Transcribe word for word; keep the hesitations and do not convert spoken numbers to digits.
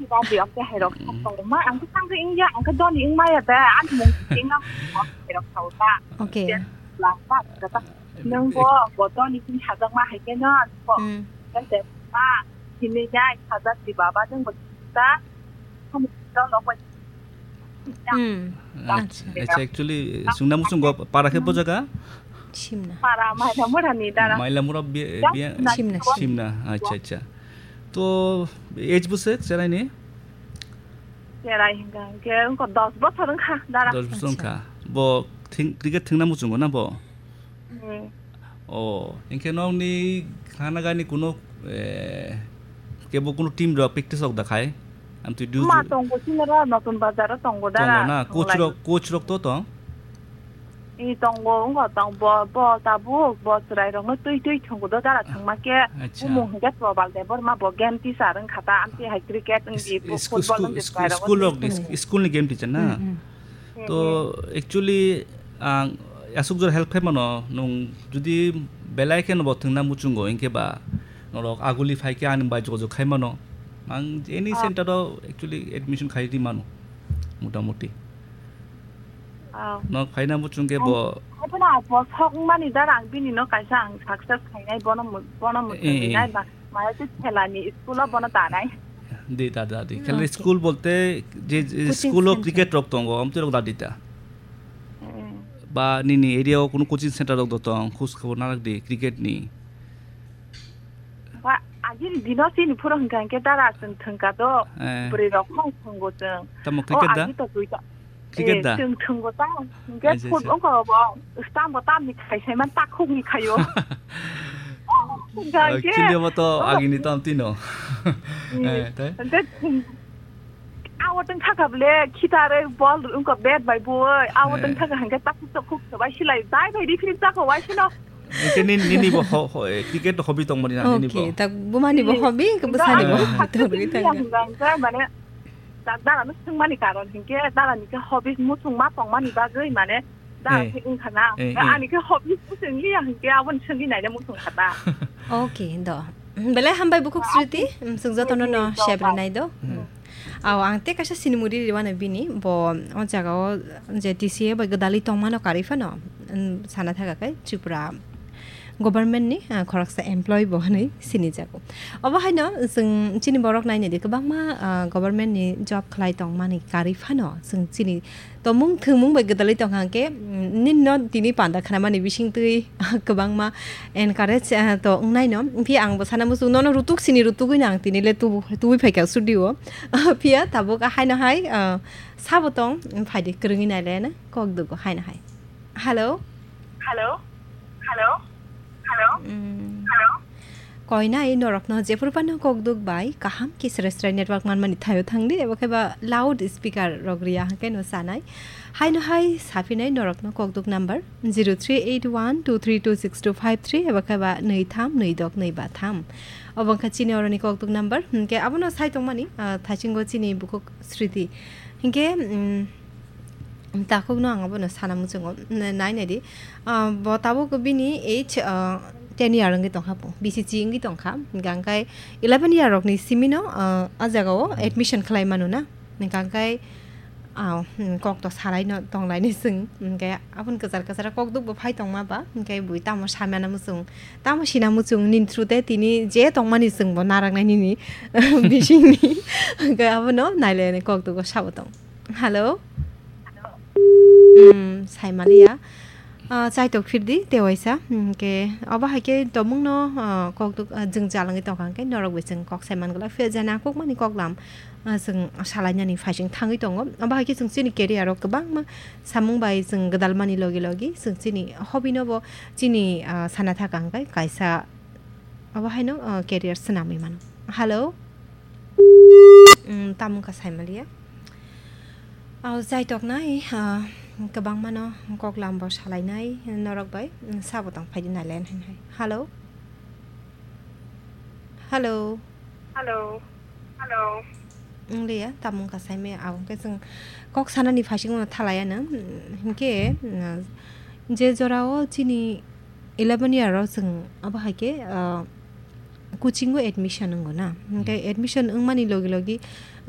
Dadi, ang khe hai rok Mm. sak tong ma, ang khe sang khe wng ya, ang khe doni wng ma ya da, ani mung khe wng na, hai rok sa ta. Okay. Lang ta, ta, ta. Nwng bo, bo doni sing sajak ma hai khe no, bo. Mm. Kan te ma, hini ya, sajak di baba, nwng bo ta, kamu dol rok bo. Mm. Acha, acha, actually, sungna muchungo para khe bo jaga? Simna. Para Mailamura ni dara. Mailamura bi-, Just biya-, na Simna, Simna. Simna, acha, acha. To, age bwswk cherai ni? Cherai hingka hingke wngkha dos bosor wngkha dara. Dos bosor Acha. Wngkha. Bo thing-, cricket thwngna muchungo na bo? Hmm. O, hingke nokni khana gani kuno, eh, kebo kuno team rok practice rok da khai? Amtwi du Ma ju- tongo sinero notun bazar o tongo dara. Tongo na, coach Tonglai. Rok, coach rok to tong? I tongo, wngkha tong, bo, bo tabuk, bo chwrairokno twi twi thwngwi do dara thwngma khe, Acha. Bumung hwnkhe Probal Debbarma, bo game teacher wngkha ta, amtwi hai cricket wngdi, Is-, bo is-, football school, wngdi school, chwrairokno school twi rokni, thwngwi. School ni game teacher na? Mm, mm. To, Mm, mm. Actually, ang aswk jora help khai mano, nwng jodi belai kheno bo thwngna muchungo, hinkhe ba norok aguli phai khe ani bai jogajog khai mano. Ang any Ah. Center o actually admission khai di mano, motamuti. Ah. Nok phaina muchung khe bo. Ang, ang phano bo sok wngmani dara ang bini no kaisa ang success khainai, bono mu-, bono Eh, eh. Muchungnai ba, maya se khelani school o bono tanai. Di, da, da, di. Khela Okay. School bolte je, je Coaching school o center. Cricket rok tongo, amtwi rok da di ta. Eh. Ba nini area o kuno coaching center rok do tong, khus khobor narak di cricket ni. Ba, agini dino chini phuro hwnkha hwnkhe dara chwng thwngka do, Eh. Bwrwi rok khong thwngo chwng. Tamo O cricket da? Agi to twi ta. Cricket Eh, da? Chwng thwngo ta, hwnkhe Acha, foot acha. Wngkha bo, stambo tamni khai sai man takhukni khaio. Hwnkha Oh, hwnkhe, actually, obo to oh, agini tam tino. Hmm. Eh, tai? Hwnkhe chwng, awo tong thaka bole, khitarwi bol wngkha bat bai boi, awo tong Eh. Thaka hwnkhe takhuk takhuk khe bai silai, bai bai referee chakho bai sino. Hwnkhe nini, nini bo ho-, ho-, eh, cricket hobby tongmani na nini bo? Okay, tak bumani bo hobby, ke bwsani bo Eh. Hobby tongwi thangkha. Hwnkha hwnkhe mane, da-, dara no swngmani karon hwnkhe, dara ni khe hobby muchung ma tongmani bagwi mane, dara Eh. Khe wngkha na. Eh, eh. Ani khe hobby swng liya hwnkhe, aboni swngwi naina muchung kha ta. Okay, do. Belai hambai bukhuk Sriti, mm, chwng jotono no Hmm, share do. Rinai do. Hmm. Aw, ang tei kaisa sinimuri riwano bini, bo o jaga o je T C A bai gwdalwi tongmano karwi phano, mm, sana thaka khe Tripura government ni, ah, khoroksa employee bo hwnwi sinijago. Obo haino chwng chini borok nainai di kwbangma, ah, government ni job khlai tongmani karwi phano chwng chini tomung thwngmung bai gwdalwi tongkha hwnkhe, mm, nini no tini panda khnamani bisingtwi kwbangma encourage, ah, to wngnaino. Phiya ang bo sana muchung nono rutuk sini rutugwi no ang tini le tubu-, tubui phaikha studio o. Phiya tabuk haino hai, ah, sabo tong, phaidi kwrwngwi nailaiano kok dugo haino hai. Hello? Hello? Hello? Hello? Mm. Hello? Koinai norokno jephuru phano kok duk bai kaham khe srai srai network manmani thaio thangdi, ebo khe ba loud speaker rok riya hwnkhe no sanai. Haino hai saphinai norokno kok duk number zero three eight one two three two six two five three ebo khe ba nwi tham nwi dok nwi ba tham. Obo wngkha chini oroni kok duk number, hwnkhe abono sai tongmani, ah, thaisingo chini bukhuk Sriti. Hinkhe, mm, takhukno ang abono sana muchungo, n-, nai nai di. Ah, bo tabuk bini age, ah, ten year wngwi tongkha bo, B C C wngwi tongkha. Hingkha hingkhai eleven year rokni simino, ah, a jagao admission khlai mano na. Hingkha hingkhai, ah, hmm, kok to salaino tonglaini chwng. Hingkhe aboni kwchar kwchar kok dukbo phai tongma ba, hingkhe bui tamo samana muchung, tamo sina muchung nini through te tini je tongmani chwngbo naraknai nini bisingni. Hingkhe abono nailaini kok dukbo sabo tong. Hello? Hmm, saimaliya. Ah, chaitok phirdi, tewaisa. Hmm, ke, obo hai ke tomungno, ah, kok duk, ah, jwng jalangwi tongkha hwnkhe norok bai chwng kok saiman glak. Phiya jani ang kokmani koklam, ah, chwng salainani phaising thangwi tongo. Obo hai ke chwng chini career o kwbangma samung bai chwng gwdalmani logi logi chwng chini hobby no bo chini, ah, sana thaka hwnkhe kaisa obo haino, ah, career swnamwi mano. Hello? Mm, tamo wngkha saimaliya. Aw, chaitoknai, ah, kwbangmano koklam bo salainai norok bai, mm, sabo tong phaidi nailen hai hai. Hello? Hello? Hello? Hello? Wng liya, tamo wngkha saimaya, abo hwnkhe chwng kok sanani phaisingno thalaiya nang, mm, hinkhe, mm, je jorao chini eleven year o chwng abo hai khe, ah, coaching o admission wngo na. Hwnkhe Hmm. Admission wngmani logi logi,